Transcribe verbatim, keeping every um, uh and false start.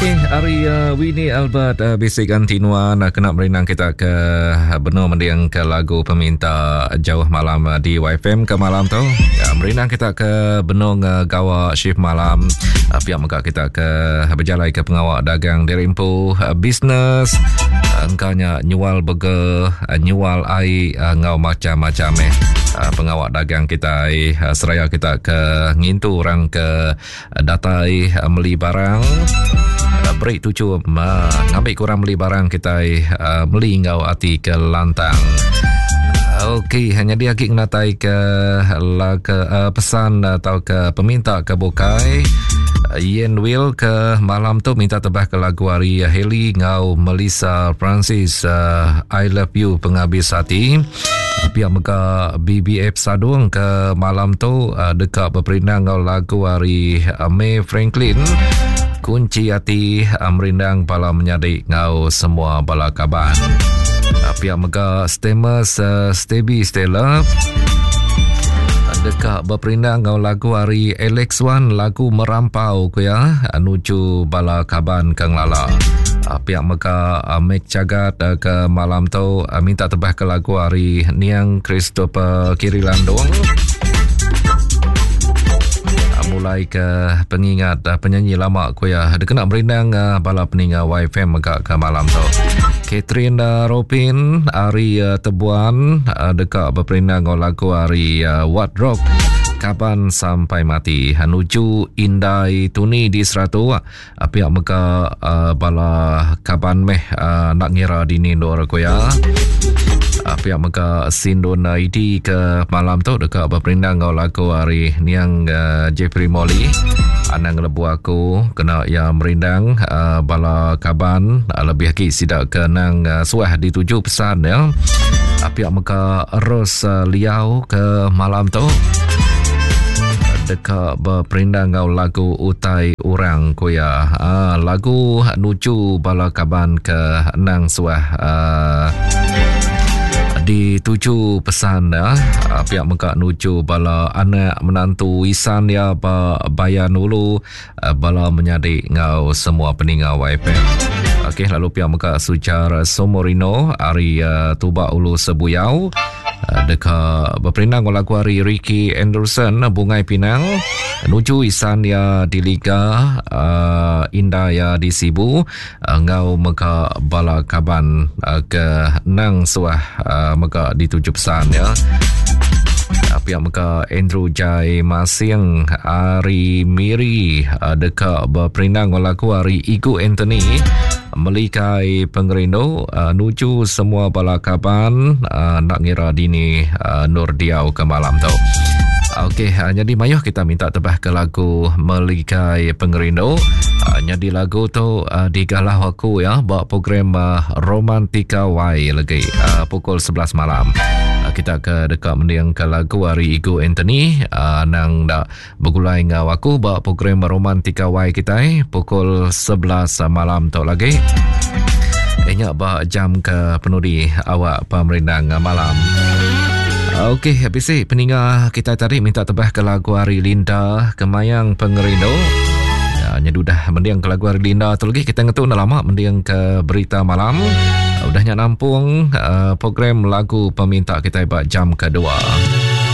Okey, hari uh, Winnie Albert uh, bisi ganti nuan uh, kena merindang kita ke uh, benung mending ke lagu peminta jauh malam uh, di Y F M ke malam tu. Ya, merindang kita ke benung uh, gawa shift malam. Uh, pihak mega kita ke berjalai ke pengawak dagang dirimpu uh, bisnes uh, engkaunya nyual burger, uh, nyual air uh, ngau macam-macam eh. Uh, pengawak dagang kita uh, seraya kita ke ngintu orang ke uh, datai uh, meli barang. Beri tuju uh, ngambil kurang beli barang kita uh, beli ngau ati ke lantang. Okey, hanya dia lagi ngatai ke la ke uh, pesan atau ke peminta ke bukai. Ian Will ke malam tu minta tebah ke lagu hari Haley ngau Melissa Francis uh, I Love You penghabis hati. Pihak mega B B F Sadung ke malam tu uh, dekat berperindang ngau lagu hari uh, May Franklin Kunci Hati uh, merindang bala menyadik ngau semua bala kaban. Uh, pihak mega Stemus uh, Stebi Stella dekat berperindang ngau lagu hari Alex Wan lagu Merampau ku ya nuju bala kaban kang lala. Uh, pihak mega uh, Mek Cagat uh, ke malam tu uh, minta tebah ke lagu hari Niang Christopher Kiri Landung. Uh, mulai ke pengingat uh, penyanyi lama ku ya dia kena merindang uh, bala peninga Y F M mega ke malam tu. Catherine uh, Robin hari uh, Tebuan uh, dekat berperindang ngau lagu hari uh, What Rock Kaban Sampai Mati Hanuju Indai Tuni di Seratu. Uh, pihak mega uh, bala kaban meh uh, nak ngira dini dor ku ya. Uh, pihak mega Sindun I D ke malam tu dekat berperindang ngau lagu hari Niang uh, Jeffrey Molly Anang lebu aku kena ya merindang uh, bala kaban uh, lebih lagi sidak ke nang uh, suah dituju pesan ya. Uh, pihak mega Ros uh, Liau ke malam tu dekat berperindang ngau lagu Utai Urang ku ya. Uh, lagu nuju bala kaban ke nang suah uh, dituju pesan ya. Uh, pihak mega nuju bala anak menantu isan ya ba bayan ulu uh, bala menyadik ngau semua peninga Y F M. Okey, lalu pihak mega Sujar Somorino ari uh, Tubak Ulu Sebuyau uh, dekat berperindang lagu hari Ricky Anderson Bungai Pinang nuju isan ya di Liga uh, Indah ya di Sibu uh, ngau mega bala kaban uh, ke nang suah uh, mega dituju pesan ya. Pihak mega Andrew Jai Masing Ari Miri uh, dekat berperindang lagu hari Igu Anthony Melikai Pengerindu uh, nuju semua bala kaban uh, nak ngira dini uh, Nur Diau ke malam tu. Okey, uh, jadi mayuh kita minta tebah ke lagu Melikai Pengerindu. Uh, jadi lagu tu uh, digalah aku ya buat program uh, Romantika Y lagi uh, pukul sebelas malam. Uh, kita ke dekat mending ke lagu hari Igu Anthony uh, nang dak bergulai ngau aku buat program Romantika Y kita eh, pukul sebelas malam tu lagi. Ingat ba jam ke penudi awak pemerindang malam. Okey, habis eh, peninga kita tadi minta tebah ke lagu hari Linda Kemayang Pengerindu. Ya, nyedudah mending ke lagu hari Linda tu lagi kita ngetu dah lama mending ke berita malam. Udahnya nampung uh, program lagu peminta kita buat jam kedua.